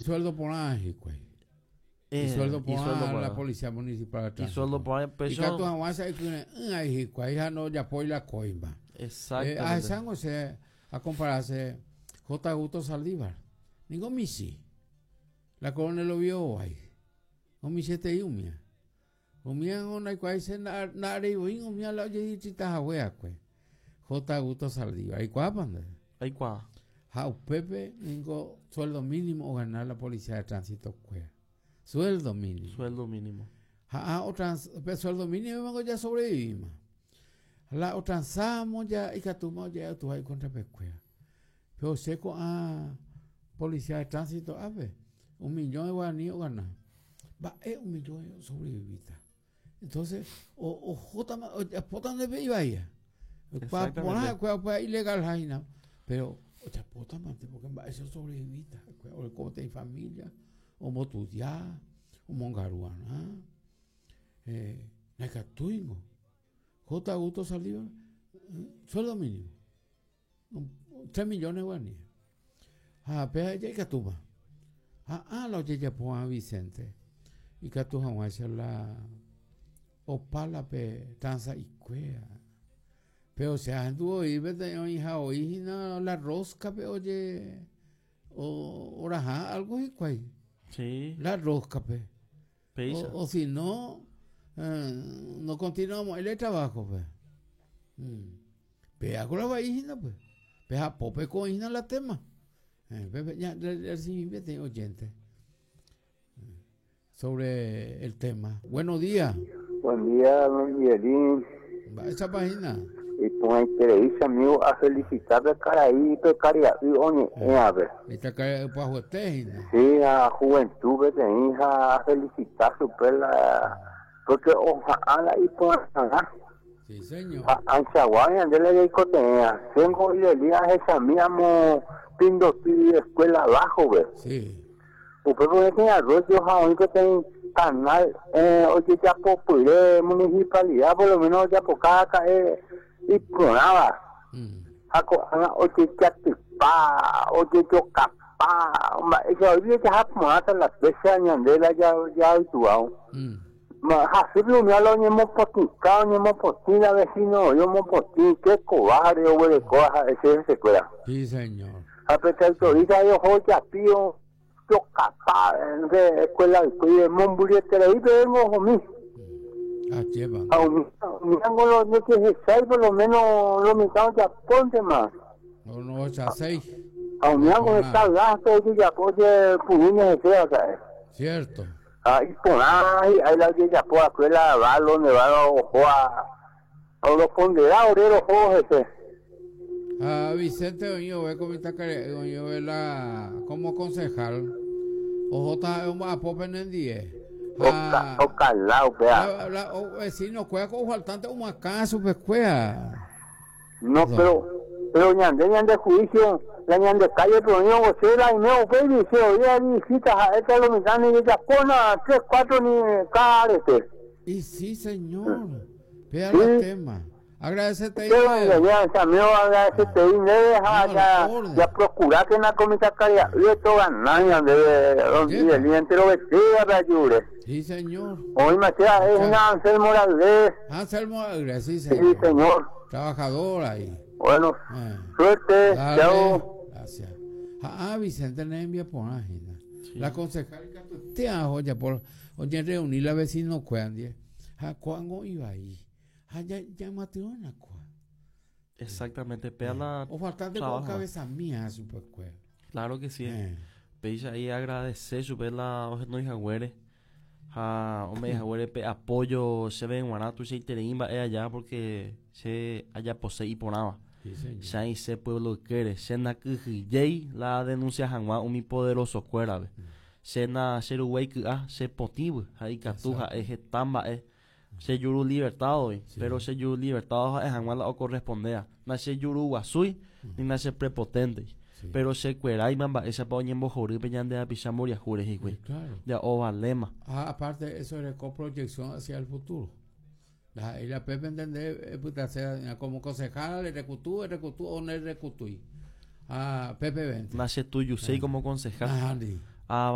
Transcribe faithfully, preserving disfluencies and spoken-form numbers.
Isueldo porã hikuái. Eh, Isueldo porã isueldo la porã. Policía Municipal de Tránsito. Isueldo porã pecho. Ikatu hag̃ua ikyre'ỹ ai hikuái ha ndojapói la coima. Eh, Exactamente. ahechángo che a compararse J. Augusto Saldívar. Ningo michĩ. La Coronel Oviedo vai. Omichĩetei umía. Umía ndaikuaái che nda'areivoi umía la ojedistritahagueakue. J. Augusto Saldívar. Aikuaápa nde? Aikuaa. Ha upépe ningo sueldo mínimo ogana la Policía de Tránsito kuéra. Sueldo mínimo. Sueldo mínimo. Ha ha otrans, pe sueldo mínimo ya sobrevivimos. La otransamos ya ikatúma oje'atuha icontrapekuéra. Pero che ko'ã Policía de Tránsito ápe, un millón de guaraní ogana. Mba'e un millón sobrevivíta. Entonces, o ohótama ojapóta ndepe ivaía. Exactamente. Porã upéva ilegal háina. Pero ojapótamante porque mba'e sobrevivíta. Oreko peteĩ familia, ombotudia, omongaru'arã. Eh, ndaikatúingo. J. Augusto Saldívar, sueldo mínimo. Tres millones guaraní. Ha péva ikatúma. Ha á la ojejapo Vicente. Ikatu hag̃uáicha la opa la pe transa'ikuéra. Pero che ahendu oĩ peteĩ oĩha oĩhína la rosca-pe oje oraha algo hikuái. Sí. La rosca-pe. Péicha. O, o si no, eh, no continuamos el trabajo pues. Mm. Pe la vaihína pues. Pe japópe ko'ĩhína la tema. Eh, pe, ya, recibí peteĩ oyente sobre el tema. Buenos días. Buen día, don Miguelín. Esa página. Iporãiterei amigo a felicitar karai pe karia'y oñe'ẽape. Esta karia'y pyahuete hína. Sí, a juventud peteĩ ha felicitar chupe la porque oha'ã la iporãha. Sí, señor. Ha anchagua ñande la jaikotevẽa. Chéngo ireli ahechami amo Pindoty escuela abajo ve. Sí. Upépe oĩpeteĩ arroyo ha oĩ peteĩ canal eh, ojejapopyre municipalidad por lo menos ojapoka ka'e iporãva. Mm. Ha ko'ág̃a ojejatypa, ojejokapa, mba'éicha oijaha porãta la fecha ñande la jaituao. Mm. Hasýpe umi la oñemopotĩka, oñemopotĩ la vecino oĩ omopotĩ, che cobarde oguereko ha'e che hesekuéra. Sí, señor. Ha pe autorita oho ojapi ojokapa de escuela ypy mombyryeterei ohomi. Ah, chepa. Ha umi umíango lo ndojehechái por lo menos lo mitã ojapóntema. No, no, ocho seis. Ha umíango heta gasto ojejapo ojepurúne hese aka'e. Cierto. Ha iporã hi'ái la ojejapo va'ekue la balo nevado oho a oropondera ore roho hese. Ah, Vicente oĩ ove ko mitãkaria'y oĩ ove la como concejal ohóta omba'apo penendie. Oka, okalá upéva. La, la, o, vecino kuéra ko faltante omoakã chupekuéra. No, pero pero ñande ñande juicio la ñande calle pero oĩ che la ime upéi che oĩ visita ha'éta lo mitã ni jejapóna tres cuatro ni cada arete. Y sí, señor. Vea Sí. el tema. Agradecete Che, ya, ya, amigo, agradecete ndéve ha No, ya, la orden. ya procurar que na comita karia'y esto ganar ñande don Yepa. Miguelín entero vestida pe ayure. Sí, señor. Oĩma che es una Anselmo Morales. Anselmo Aguirre, sí, Sí, señor. señor. Trabajador ahí. Bueno, Eh. suerte. Dale. Chao. Gracias. Ah, Vicente ne envía por hína. La concejal te ajo por oye reunir la vecino kuéra Ha ko'ág̃a ivai. Ha ya ya matriona kua. Exactamente. Pea la O faltante con trabajo. cabeza mía chupekuéra. Claro que sí. Eh. Péicha ahí agradecer chupe la ohenóihaguére ha ome'ẽhaguére pe apoyo chéve g̃uarã tuichaiterei mba'e allá porque che ajapose iporãva. Sí, señor. Che aĩse pueblo ykére che nakyhyjéi la denuncia hag̃ua umi poderosokuérape. Che na cheruguái ky'a che potĩvy ha ikatu Exacto. ha'e heta mba'e che juru libertadoi, Sí. pero che juru libertado ha'e hag̃ua la ocorrespondea. Na che juru guasúi ni na che prepotente. Sí. Pero chekueráima mba'éichapa oñembohorýpe ñande hapicha mboriahúre hikuái. Sí, claro. Ya ovaléma. Ah, aparte, eso es proyección hacia el futuro. La, y la Pepe entender, eh, puta, sea, como concejal, el recutú, el recutú o no el recutú. Ah, Pepe veinte. Na che tuyuséi como concejal. Ajá, di. Ah,